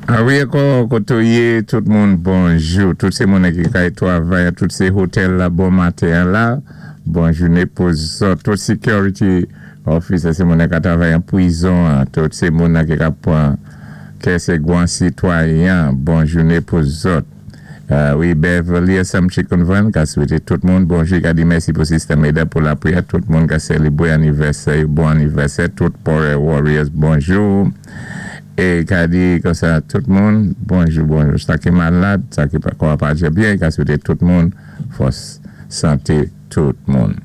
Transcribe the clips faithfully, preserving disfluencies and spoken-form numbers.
A wi, ankò kotoyé tout moun bonjou. Tout sé moun ki kay twavay, tout sé otèl la bon maten la. Bon jouné pou zòt. Tout security officer, sé moun ki twavay an pwizon, tout sé moun ki ka pwan kè sé gwan sitwayen. Bon jouné pou zòt. Uh, wi, Beverly Sam Chicken Van, ka swété tout moun bonjou, ka di mèsi pou Sister Meda pou lapwiyè, tout moun ka sélébwé anivèsè, bon anivèsè, tout Power Warriors, bonjou. É ka di konsa tout moun, bonjou, bonjou. Sa ki malad, sa ki pa kwa pa byen, ka swété tout moun, fòs santé tout moun.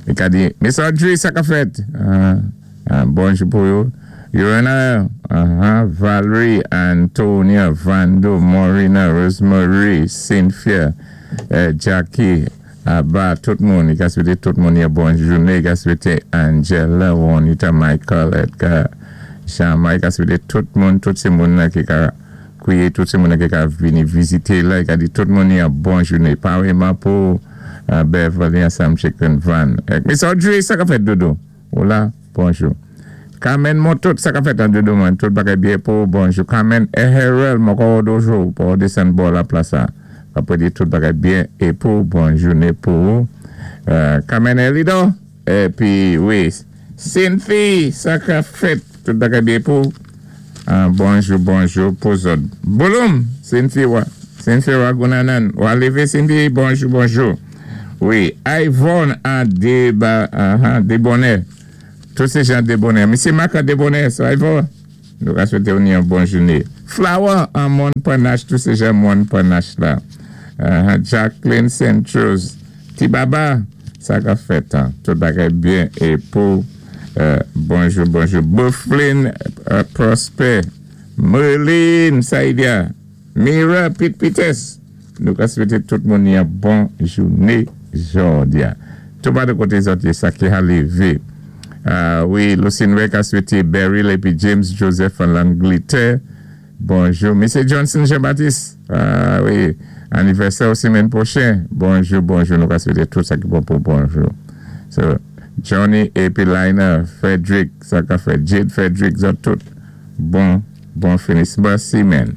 É ka di, Miss Audrey, sa ka fèt? Uh, uh, bonjou pou yo. Yorana, uh-huh, Valerie, Antonia, Vando, Morina, Rosemary, Cynthia, uh, Jackie, Abba, tout moun, i ka swété tout moun yon bon jouné, i ka swété Angela, Juanita, Michael, Edgar, Jean-Marc, i ka swété tout moun, tout sé moun la ki ka kwiyé, tout sé moun la ki ka vini vizité la, i ka di tout moun yon bon jouné. Paréyman pou uh, Beverly Sam Chicken Van. Eh, Miss Audrey, sa ka fèt dodo? Hola, bonjou. Carmen Motot, sa ka fèt an dodo man, tout bagay byen pou bonjou. Carmen Eherel, moko dojo, pou desann bò la plaza. Apwé di tout bagay byen é pou bon jouné pou. Uh, Carmen Elido, épi wi, Cynthia, sa ka fèt, tout bagay byen pou. Uh, bonjou, bonjou pou zòt. Bouloum, Cynthia, wa, Cynthia Ragunanan, wa lévé Cynthia, bonjou, bonjou. Wi, Yvonne an déba, uh, Débonnaire. Tout sé jan Débonnaire. Misyé Marc an Débonnaire, sa Yvonne. Nou ka swété ou yon bon jouné. Flower an Mon Panache, tout sé jan Mon Panache la. Uh, Jacqueline Saint-Rose. Tibaba, sa ka fèt. Hein. Tout bagay byen é pou euh, bonjou, bonjou. Bufflin uh, Prosper. Merlin Saïdia. Mira Pit Pites. Nou ka swété tout moun yon bon jouné jòdi a. Tout ba de koté zòt sa ki a lévé. Uh, wi, Lucine ka swété Beryl épi James Joseph an Langletè. Bonjou. Misyé Johnson Jean-Baptiste. Uh, wi, anivèsè semèn pwochèn. Bonjou, bonjou. Nou ka swété tout sa ki bon pou bonjou. So, Johnny épi Lina, Frederick, sa ka fèt, Jade Frederick, zòt tout. Bon, bon finisman semèn.